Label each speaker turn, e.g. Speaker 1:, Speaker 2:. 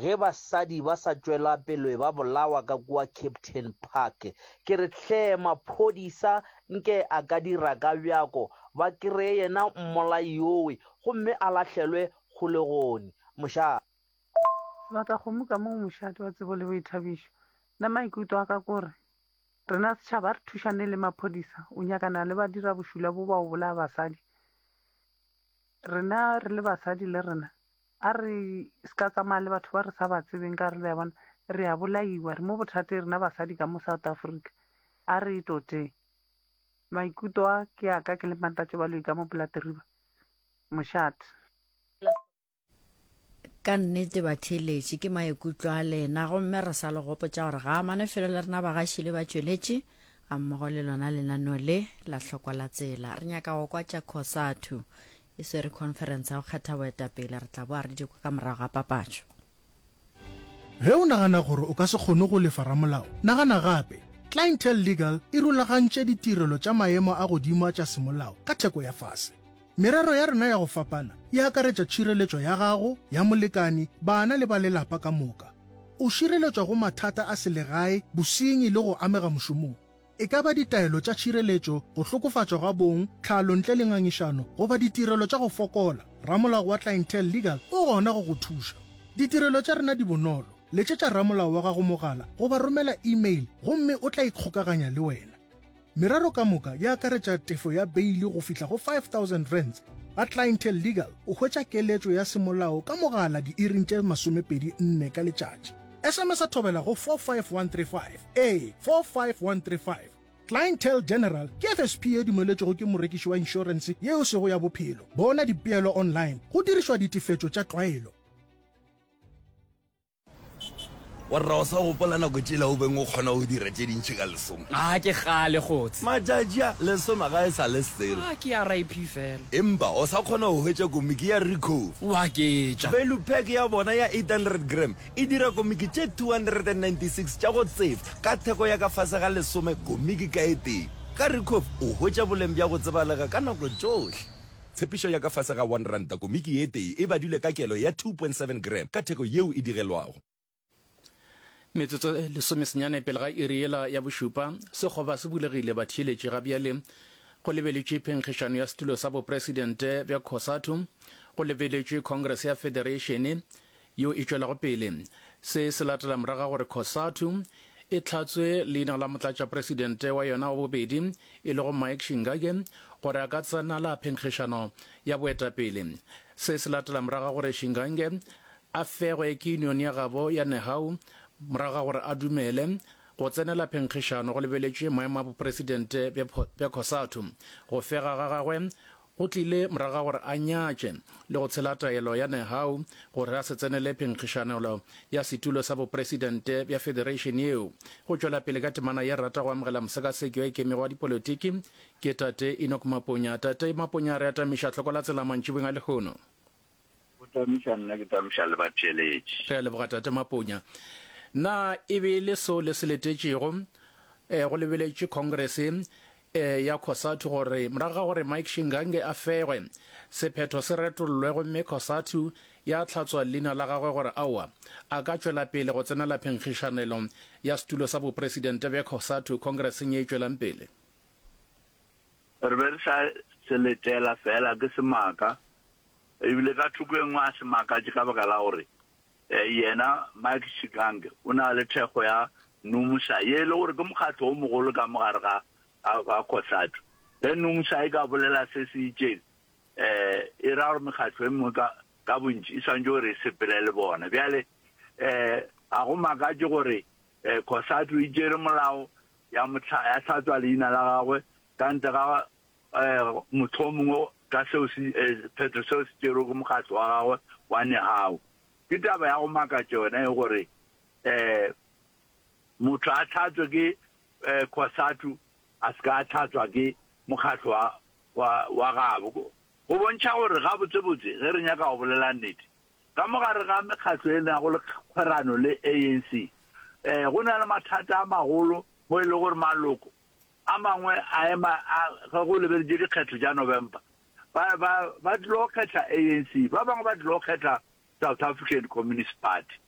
Speaker 1: Ge basadi ba sa tšwela pele ba bolawa ka kua Kempton Park, ke re hle maphodisa nke a ka dira ka bjako ba kreye yena mmolai yowe gomme a lahlelwe kgolegong. Mošate.
Speaker 2: Sebatakgomo ka mo mošate wa tsebo le boithabišo. Nna maikutlo a ka kore rena setšhaba a re thušane le maphodisa o nyakana le badirabošula bo ba go bolaya basadi. Rena re le basadi le rena A re se ka tsamaya le batho ba re sa ba tsebeng ka re le a bona re a bolaiwa re mo bothateng rena basadi ka mo South Africa. A re e toteng. Maikuto a ke a ka ke le Mantatše Baloyi ka mo Platriba. Mošate.
Speaker 3: Ka nnete batheeletši ke maikutlo a lena gomme re sa le gopotša gore ga amane felo le rena bagaši le batšweletši ga mmogo le lona lenaneo le la hlokwa la tsela. Re nyaka go kwa tša Cosatu E swere khonferense ya go kgetha boetapele. Re tla boa re di kwa ka morago ga papatšo.
Speaker 4: Ge o nagana gore o ka se kgone go lefa ramolao, nagana gape. Clientele Legal e rulagantše ditirelo tša maemo a godimo a tša semolao ka theko ya fase. Merero ya rena ya go fapana e akaretša tšhireletšo ya gago, ya molekani, bana le ba lelapa ka moka. O šireletšwa go mathata a selegae, bosenyi le go amega mošomong. E ka ba ditaelo tša tšhireletšo, go hlokofatšwa ga bong, tlhalo ntle le ngangišano, goba ditirelo tša go fokola, ramolao wa Clientele Legal o gona go go thuša. Ditirelo tša rena di bonolo, letšetša ramolao wa gago mogala goba romela email gomme o tla ikgokaganya le wena. Merero ka moka e akaretša tefo ya beili go fihla go R5000. Ga Clientele Legal o hwetša keletšo ya semolao ka mogala diiring tše 24 ka letšatši. SMS-a thobela go 45135. Ee, 45135. Clientele General ke FSP ye dumeletšwego ke morekiši wa inšorense ye e sego ya bophelo. Bona dipeelo online go dirišwa ditefetšo tša tlwaelo.
Speaker 5: Warra o sa gopola nako tšela o beng o kgona go dira tše dintši ka lesome?
Speaker 6: A ke kgale kgotse.
Speaker 5: Matšatši a, lesome ga e sa le selo.
Speaker 6: A ke RIP fela.
Speaker 5: Empa o sa kgona go hwetša komiki ya Ricoh.
Speaker 6: O aketša.
Speaker 5: Value pack ya bona ya 800 gram E dira komiki tše 296 tša go tsefa ka theko ya ka fase ga lesome komiki ka e tee. Ka Ricoff o hwetša boleng bja go tsebalega ka nako tšohle. Tshepišo ya ka fase ga R1 komiki e tee e badilwe ka kelo ya 2.7 gram ka theko yeo e digelwago.
Speaker 7: Metsotso e lesomesenyane pele ga iri yela ya bošupa, sekgoba se bulegile batheeletši ga bjale go lebeletšwe phenkgišano ya setulo sa bopresidente bja Cosatu, go lebeletšwe Congress ya Federation yeo e tšwelago pele. Se se latela morago ga gore Cosatu e hlatswe leina la motlatšapresidente wa yona wa bobedi e lego Mike Shingage gore a ka tsenela phenkgišano ya boetapele. Se se latela morago ga gore Shingange a fegwe ke union ya gabo ya Nehau morago ga gore a dumele go tsenela phenkgišano go lebeletšwe maemo a bopresidente bja Cosatu. Go fega ga gagwe Go tlile morago ga gore a nyatše le go tshela taelo ya Nehau gore a se tsenele phenkgišanelo ya setulo sa bopresidente bja federation yeo. Go tšwela pele ka temana ye re rata go amogela mosekaseki wa ikemego wa dipolotiki ke Tate Enoch Maponya. Tate Maponya re atamiša hloko la tsela mantšibeng a lehono.
Speaker 8: Go tamiša nna ke tamiša le batheeletši.
Speaker 7: Re a leboga Tate Maponya. Na e be e le seo le se letetšego go lebeletšwe Congress ya Cosatu gore morago ga gore Mike Shingange a fegwe, sephetho se retollwe gomme Cosatu ya hlatswa leina la gagwe gore aowa, a ka tšwela pele go tsenela phenkgišanelo ya setulo sa bopresidente bja Cosatu Congresseng ye e tšwelang pele?
Speaker 8: Re be re sa se letela fela ke semaka, ebile ka thoko e nngwe a se makatše ka baka la gore yena Mike Shigange o na le thekgo ya NUMSA ye e le gore ke mokgatlo o mogolo ka mo gare ga ga Cosatu. Ge NUMSA e ka bolela se se itšeng, e ra gore mekgatlo e mengwe ka ka bontši e swanetše gore e sepele le bona. Bjale ga go makatše gore Cosatu e tšere molao ya mo ya hlatswa leina la gagwe ka ntle ga motho o mongwe ka seo se phetho seo se tšerwego ke mokgatlo wa gagwe wa Nehau. Ke taba ya go makatša yona e gore motho a hlatswe ke Cosatu a se ka a hlatswa ke mokgatlo wa wa wa gabo. Go bontšha gore gabotsebotse ge re nyaka go bolela nnete, ka mo gare ga mekgatlo e nago le kgwerano le ANC go na le mathata a magolo mo e le gore maloko a mangwe a ema a ge go lebeletše dikgetho tša November ba ba ba tlilo kgetha ANC, ba bangwe ba tlilo kgetha South African Communist Party.